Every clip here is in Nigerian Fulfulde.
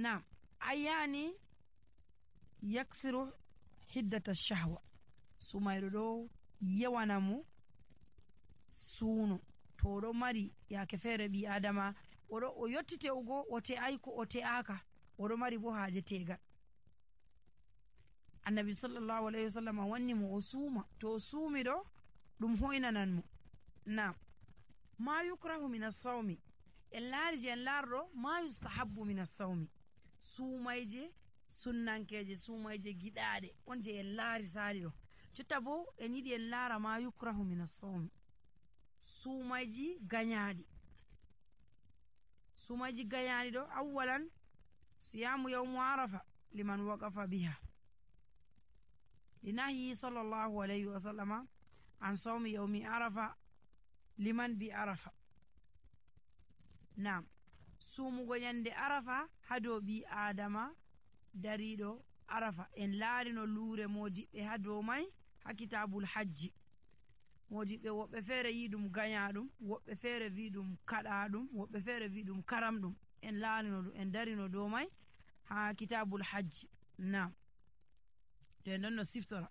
nam ayani yaksiru hiddata shahwa sumayro ɗo yawana mo suuno to oɗo mari yake feere ɓi adama o yotti te'ugo o te'ai ko o te'aka oɗo mari bo haaje tegal. Annabi sallallahu alaihi wasallam wanni mo o suuma to o suumi ɗo ɗum hoynanan mo. nam ma yukrahu min as-sawmi en laari je en laarɗo ma yustahabbu min as-sawmi suumayje sunnankeje suumayje giɗaɗe on je en laari saali ɗo. Jotta bo en yiɗi en laara ma yukrahu min as-sawmi suumayji ganyaɗi. Suumayji ganyaɗi ɗo awwalan siyamu yawmu arafa liman waqafa biha linahyi sallallahu alayhi wa sallama an sawmi yawmi arafa liman bi arafa. nam suumugo nyande arafa ha dow ɓi adama dariɗo arafa en laari no luure modiɓɓe ha dow mai ha kitabul hajji. modiɓɓe woɓɓe feere yi ɗum ganyaɗum, woɓɓe feere wi ɗum kaɗaɗum, woɓɓe feere wi ɗum karamɗum. en laarino ɗum en darino dow mai ha kitabul hajji. nam to en ɗon no siftora.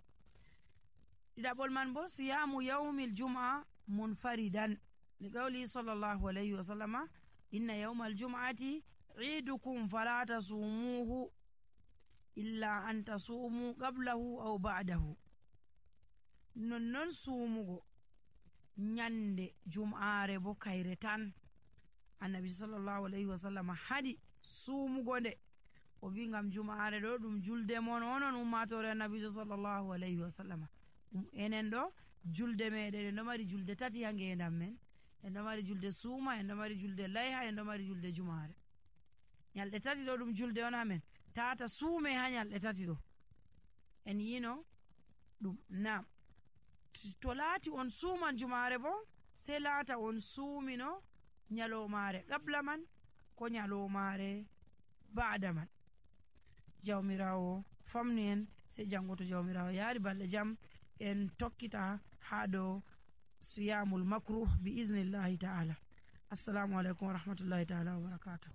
ɗiɗaɓol man bo siyamu yawmil jum'a munfaridan li qawli sallallahu alayhi wa sallama inna yawmal jum'ati idukum fala tasumuhu illa an tasumu qablahu aw ba'dahu. nonnon suumugo nyande jum'aare bo kayre tan annabi sallallahu alayhi wa sallam haɗi suumugo nde o wi ngam jum'aare ɗo ɗum julde mon onon ummatore annabijo sallallahu alayhi wa sallam. enen ɗo julde meɗen en ɗo mari julde tati ha ngendam men. en ɗo mari julde suuma, en ɗo mari julde layha, en ɗo mari julde jum'aare. nyalɗe tati ɗo ɗum julde on hamen tata suume ha nyalɗe tati ɗo en yino ɗum. nam to laati on suuman jum'aare bo sei laata on suumino nyalomare qabla man ko nyalomare ba'da man. jawmirawo famnu en sei jango to jawmirawo yaari balɗe jam en tokkita ha dow siyamul makruh bi iznillahi ta'ala. assalamu alaikum wa rahmatullahi ta'ala wa barakatuh.